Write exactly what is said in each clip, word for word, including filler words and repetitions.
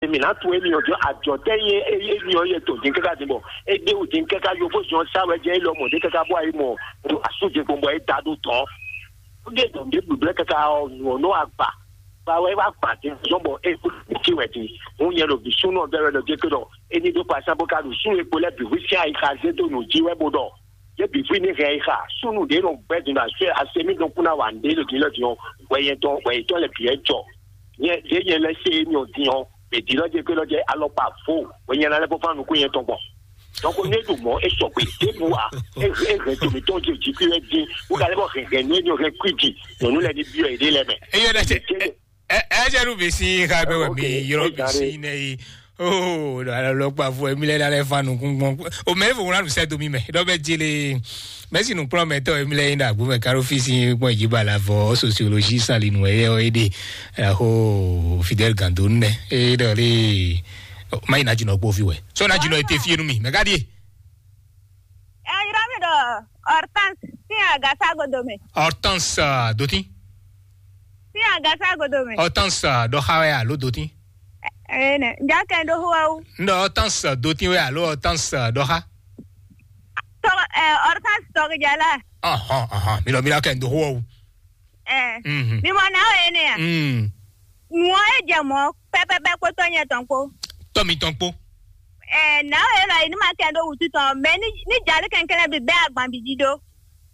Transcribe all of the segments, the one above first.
Mǐ ná tunwun émí ɔ́ jɔ ajɔ̌ tɛ́ nyí émí ɔ́ yɛ tɔn dín káká dín bɔ é ɖé wǔ dín káká yovó zɔn sá wɛ jɛ é lɔ mɔ̌ ɖé káká bɔ ayé mɔ ɖo asújɛ gbɔn bɔ é da ɖó tɔn. Ó ɖe tɔn ɖěbǔ blɛ́ káká ɔ́ nǔ ɔ́ nɔ agba gba wɛ wá gba dín zɔn bɔ é kú cí wɛ dín. Hún nyɛ ɖo bǐ súnú ɔ́ bɛ́ wɛ ɖɔ jɛ ké ɖɔ é ní ɖó kpasán bó ká ɖo súnnu e kpo lɛ́ bǐ hwí sín ayixa zé dó nǔ jí wɛ bó ɖɔ yě bǐ fí ní hɛn yi xa súnnu ɖě nɔ gbɛ́ din ɖo asé asé mí ɖokún ná wa nǔɖé ɖo din lɔ din ɔ́, hwɛ yɛn tɔn hwɛ yětɔn lɛ bǐ wɛ jɔ. Nyɛ ɖě nyɛ lɛ́ sé émí ɔ́ din ɔ́, mɛ din lɔ jɛ gbé lɔ jɛ alɔkpa vo hwɛ nyɛ ná lɛ́ bó fán nukún yɛn tɔn gbɔn. Donc ní eɖu mɔ esɔgbe ɖěbǔ a, é hɛn to mǐtɔn jí jí kí wɛ dín wó ka lɛ́ bɔ hɛn hɛn nú émí ɔ́ hɛn kwí jí nyɔ̌nu lɛ́ɛ ní byɔ́ yěɖée lɛ́ɛ mɛ. Eyɔ ɖe se. Ɛ ɛ jɛ ɖu bisi xa bɛ wɛ mi yɔrɔ bisi ne yi. Oh, ɖo alɔ kpa fo mi lɛ ɖalɛ fa nukun gbɔn. O mɛ fo wona nu sɛ do mi mɛ. Dɔ bɛ jele. Mɛ si nukplɔ mɛ tɔ mi lɛ yin da gbo mɛ karo fisi gbɔn ji ba la vɔ sociologie sali nu ɛ ɔ ede. Ho Fidel Gando ne. E dɔ le. Ma yi na jinɔ kpo fi wɛ. So na jinɔ ete fi nu mi. Mɛ ka die. Ɛ yɔrɔ mi dɔ Hortense sin agasa godo mɛ. Hortense dotin. Sin agasa godo mɛ. Hortense dɔxa wɛ alo dotin. Ee nɛ nja kɛ do xo awu. N dɔ Hortense dotin wɛ alo Hortense dɔxa. Tɔgɔ ɛ Hortense tɔgɔ jala. Ɔhɔn ɔhɔn mi lɔ mi lɔ kɛ n do xo awu. Ɛ Mhm. Mi mɔ na o ene ya. Mm. Nuɔ e jɛ mɔ pɛpɛpɛ kpótɔ nyɛ tɔn kpó. Tɔ mi tɔn kpó. Ɛ na o e lɔ yi ni ma kɛ do wutu tɔn mɛ ni ni jali kɛnkɛnɛ bi bɛ agban bi di do.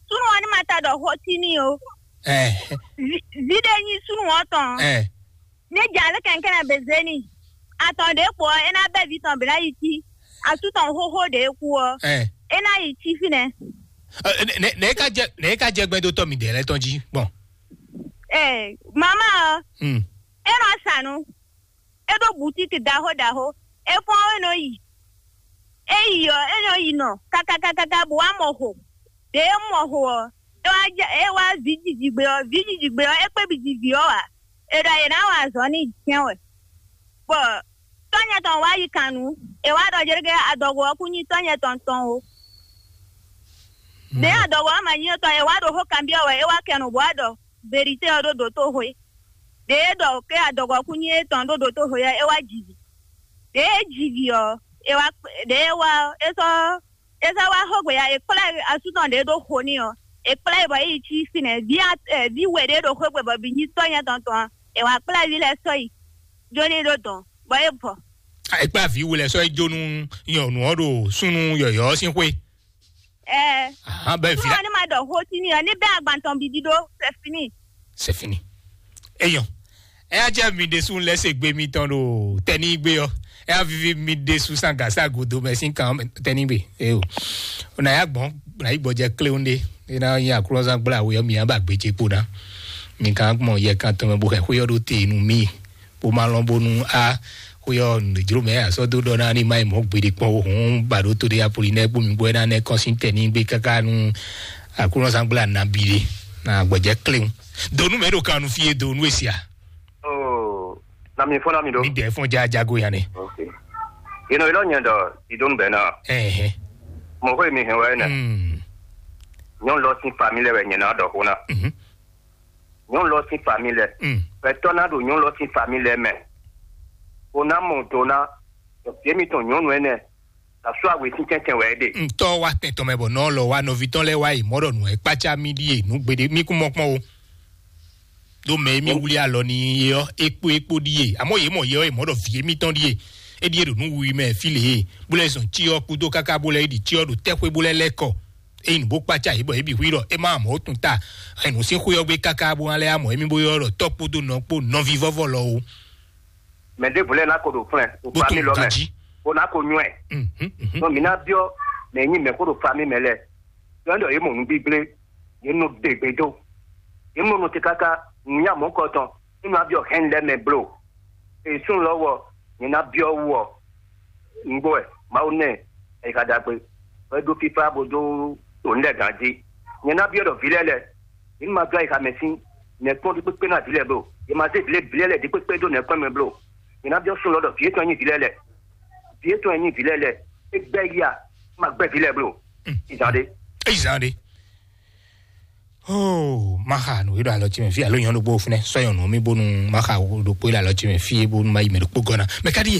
Sunu ɔ ni ma ta dɔ xo ti ni o. Ɛ Vi de nyi sunu ɔ tɔn. Ɛ Ne jɛ ale kɛnkɛnɛ be zé n'i. Atɔn ɖě kpo ɔ́, é ná bɛ́ vǐ tɔn bǐ ná yi cí. Asú tɔn xóxó ɖě kú ɔ́, ɛ é ná yi cí fínɛ́. Ɛ, nɛ nɛ nɛ e ka jɛ nɛ e ka jɛ gbɛdótɔ mi dɛ lɛ tɔn jí gbɔn. Ɛ mama ɔ́, Hmm. É nɔ sa nu. É ɖó butiki ɖaxó ɖaxó. É fɔ́n é nɔ yi. É yi ɔ́, é nɔ yi nɔ kakakakaka bó wá mɔ xo. Ɖě é mɔ xo ɔ́, é wá jɛ é wá vǐ jiji gbe ɔ́, vǐ jiji gbe ɔ́, é kpé bǐ ji vǐ ɔ́ ǎ. È ɖɔ è nǎ wa azɔ̌ n'i jɛ́n wɛ. Bɔ tɔ́nyɛ tɔn wá yi kan nǔ, è wá ɖɔ jɛ́ɖɛ́ adɔgo ɔ́ kún nyí tɔ́nyɛ tɔn tɔn ó. Ɖě adɔgo ɔ́ ma nyí étɔn, è wá ɖo xó kanbyɔ́ wɛ, é wá kɛ nǔ bó wá ɖɔ verité ɔ́ ɖó dǒtoxwe. Ɖě é ɖɔ ké adɔgo ɔ́ kún nyí étɔn ɖó dǒtoxwe ɔ́, é wá ji vǐ. Ɖě é ji vǐ ɔ́, é wá ɖě é wá ɔ́, é sɔ́ é sɔ́ wá xógbe ya, è kplá ɛ asú tɔn ɖě ɖó xo n'i ɔ́, è kplá ɛ bɔ é yi cí fínɛ́. Vǐ a- ɛ, vǐ we ɖě ɖo xógbe bɔ bǐ nyí tɔ́ nyɛ tɔn tɔn ɔ́, è wá kplá vǐ lɛ́ɛ sɔ́ yi jó n'i ɖó dɔ̌n, bɔ é vɔ. È kplá vǐ we lɛ́ɛ sɔ́ yi jó nú nyɔ̌nu ɔ́ ɖo súnnu yɔ̌yɔ́ ɔ́ sín xwé. Ɛ Ahan, bɛ vi Súnnu la ɔ́ ní ma ɖɔ xó sí n'i ɔ́, ní bɛ́ agban tɔn bǐ ɖíɖó, c'est fini. C'est fini. Eyɔn. Eya jẹ́ mi ɖésú lɛ́ se gbe mitɔn ɖo tɛnígbe ɔ́. Eya vivi mi ɖésú sán gǎsá godo mɛ sín kan tɛnígbe. Eo. Na ya gbɔn, na yi gbɔjɛ kléwún ɖé. Ena nyi aklɔzán gbla awe ɔ́ mi ya ba gbé ce kpo ná. Mi kan gbɔn yɛ kan tɔn mɛ bo xɛ xwé ɔ́ ɖó te nu mi. Bó ma lɔn bónú á xwé ɔ́ nǔɖéjló mɛ asɔ́ dó ɖɔ ná ní má yi mɔ̌ gbeɖé kpɔ́n ó hǔn ba ɖó to ɖé Apolinɛ́ɛ kpó mi gbɔ é ná nɛ́ kɔn sín tɛ ní gbé káká nú Aklúnɔzángbla nabí ɖé na gbɔ̌jɛ́ kléwún. Do nú mɛ ɖo kan nu fí e do nú e sia. Oh, na mi fɔ́n na mi ɖo. Mi dɛ fɔ́n ja jago ya nɛ. Ok. Yénɔ ilɔ nyɛ ɖɔ idonu bɛ na. Ɛhɛn. Mɔxó mi hɛn wɛ nɛ. Mm. Nyɔnu lɔ sín famille wɛ nyɛ ná ɖɔ xó ná. Mhm. Nyɔnu lɔ sín famille lɛ. Mm. Gbɛtɔ́ ná ɖo nyɔnu lɔ sín famille lɛ mɛ. Bó ná mɔ do ná ɖɔ vǐ émítɔn nyɔnu énɛ́ asú awe sín tɛ́ntɛn wɛ é ɖe. Ŋutɔ wa tɛn tɔn mɛ bɔ nɔ lɔ wa nɔvi tɔn lɛ wa yi mɔ ɖɔ nǔ ɛ kpácá mì ɖíe nǔ gbeɖé mì kún mɔ kpɔn o. Ɖó mɛ émí wlí alɔ ní yé ɔ́ é kpó é kpó ɖíe àmọ́ yé mɔ yé ɔ́ yé mɔ ɖɔ vǐ émítɔn ɖíe. É ɖíe ɖo nǔ wiwi mɛ fí lě e bó lɛ́ zɔn cyɔ kúdó káká bó lɛ́ yi ɖi cyɔ ɖo tɛ́xwé bó lɛ́ lɛ́ kɔ. Ényí nǔ bó kpácá yě bɔ yě bǐ hu yi ɖɔ é má mɔ ó tún ta. Ɛnu sín xwé ɔ́ gbé káká bó ná lɛ́ amɔ émí bó ylɔ́ ɖɔ tɔ́ kpódó nɔ kpó nɔví vɔ́vɔ́ lɔ ó. Mɛ ɖěvo lɛ́ɛ ná ko ɖo flɛn ɖo Bó fami tunwun lɔ mɛ ganjí. Bó ná ko nywɛ. Mhm, mhm. Nɔ mǐ ná byɔ́ mɛ nyí mɛ xó ɖo fami mɛ lɛ́ɛ. Yɔ ɖɔ yě mɔ nǔgbígblé, yě nɔ ɖe gbe dó. Yě mɔ nɔ te káká nǔ nya mɔ̌ kɔ tɔn nínú abyɔ́ hɛn lɛ́ mɛ blo. Èsún lɔ wɔ nyɛ ná byɔ́ wú ɔ. Nǔgbó wɛ Mawu nɛ ɛyíká ɖagbe, bɔ é ɖó fífá bó dó ɖo nǔ lɛ́ɛ gǎn jí. Nyɛ ná byɔ́ ɖɔ vǐ lɛ́ɛ lɛ́ɛ, yě ní ma dó ayixa mɛ sín nɛ̌kpɔ́n ɖi kpékpé ná vǐ lɛ́ɛ bló. Yě ma zé vǐ lɛ́ɛ vǐ lɛ́ɛ lɛ́ɛ ɖi kpékpé dó nɛ̌kpɔ́n mɛ bló. Yě ná byɔ́ sún lɔ ɖɔ vǐ étɔn nyí vǐ lɛ́ɛ lɛ́ɛ. Vǐ étɔn e nyí vǐ lɛ́ɛ lɛ́ɛ, é gbɛ́ yí a, é ma gbɛ́ vǐ lɛ́ɛ bló. Izan ɖé. Eyi zan ɖe. Oh, maxa nǔ e ɖo alɔ ce mɛ fí alo nyɔnu ɖokpó fúnɛ sɔ nyɔnu mi bónú maxa ɖokpó e ɖo alɔ ce mɛ fí e bónú ma yi mɛ ɖokpó gɔ́ ná. Mɛ ka ɖíe